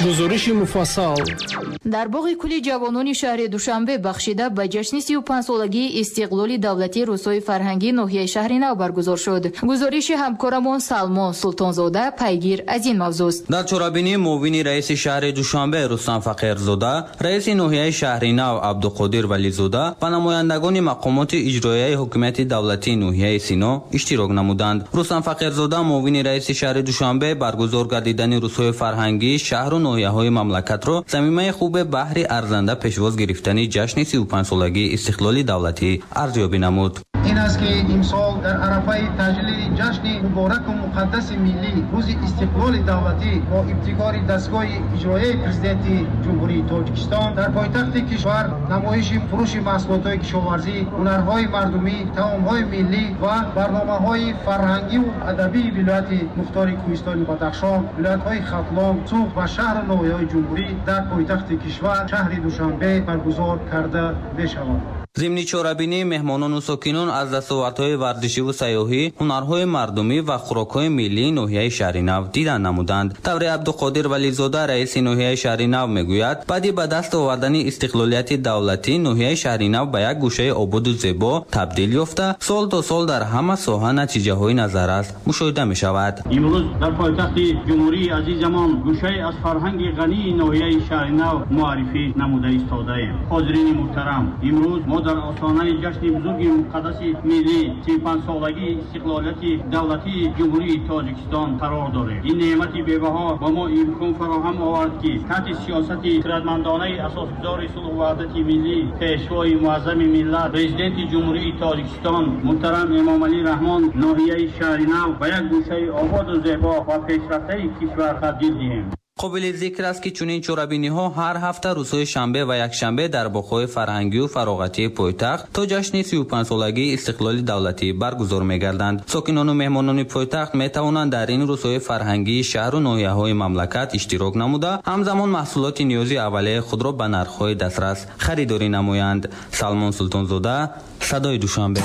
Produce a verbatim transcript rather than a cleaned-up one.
Гузориши муфассал. Дар боғи кули ҷавонони шаҳри Душанбе бахшида ба ҷашни сию панҷсолагии истиқлоли давлатии рӯзҳои фарҳангии ноҳияи Шаҳри Нав баргузор шуд. Гузориши ҳамкорамон Салмон Султонзода пайгир аз ин мавзӯст. Дар чорабинӣ муовини раиси шаҳри Душанбе Рустам Фақирзода, раиси ноҳияи Шаҳри Нав Абдуқодир Вализода ва намояндагони мақомоти иҷроияи ҳукумати давлатии ноҳияи Сино иштирок намуданд. Рустам Фақирзода, муовини раиси шаҳри Душанбе, баргузор гардидани рӯзҳои фарҳангии шаҳру ноҳияҳои мамлакатро замимаи хубе баҳри арзанда пешвоз гирифтани ҷашни сию панҷсолагии истиқлоли давлатӣ арзёбӣ намуд. Ин аст, ки имсол дар арафаи таҷлили ҷашни мубораку муқаддаси миллӣ, Рӯзи истиқлоли давлатӣ, бо ибтикори дастгоҳи иҷроияи Президенти Ҷумҳурии Тоҷикистон дар пойтахти кишвар намоиши фурӯши маҳсулотҳои кишоварзӣ, ҳунарҳои мардумӣ, таомҳои миллӣ ва барномаҳои фарҳангиву адабии вилояти мухтори Кӯҳистони Бадахшон, вилоятҳои Хатлон, Суғд ва шаҳру ноҳияҳои ҷумҳурӣ дар пойтахти кишвар, шаҳри Душанбе, баргузор карда мешавад. Зимни чорабинӣ меҳмонону сокинон аз дастовардҳои варзишиву сайёҳӣ, ҳунарҳои мардумӣ ва хӯрокҳои миллии ноҳияи Шаҳри Нав дидан намуданд. Тавре Абдуқодир Вализода, раиси ноҳияи Шаҳри Нав, мегӯяд, баъди ба даст овардани истиқлолияти давлатӣ ноҳияи Шаҳри Нав ба як гӯшаи ободу зебо табдил ёфта, сол то сол дар ҳама соҳа натиҷаҳои назаррас мушоҳида мешавад. Имрӯз дар пойтахти ҷумҳурии азизамон гӯшае аз фарҳанги ғании ноҳияи Шаҳри Нав муаррифӣ намуда истодаем. Ҳозирини муҳтарам, имрӯз мо дар остонаи ҷашни бузурги муқаддаси миллӣ, сию панҷсолагии истиқлолияти давлатии Ҷумҳурии Тоҷикистон қарор дорем. Ин неъмати бебаҳо ба мо имкон фароҳам овард, ки таҳти сиёсати хирадмандонаи асосгузори сулҳу ваҳдати миллӣ, Пешвои муаззами миллат, Президенти Ҷумҳурии Тоҷикистон муҳтарам Эмомалӣ Раҳмон ноҳияи Шаҳри Нав ба як гӯшаи ободу зебо ва пешрафтаи кишвар табдил диҳем. Қобили зикр аст, ки чунин чорабиниҳо ҳар ҳафта рӯзҳои шанбе ва якшанбе дар боғҳои фарҳангию фароғатии пойтахт то ҷашни сию панҷсолагии истиқлоли давлатӣ баргузор мегарданд. Сокинону меҳмонони пойтахт метавонанд дар ин рӯзҳои фарҳангии шаҳру ноҳияҳои мамлакат иштирок намуда, ҳамзамон маҳсулоти ниёзи аввалияи худро ба нархҳои дастрас харидорӣ намоянд. Салмон Султонзода, Садои Душанбе.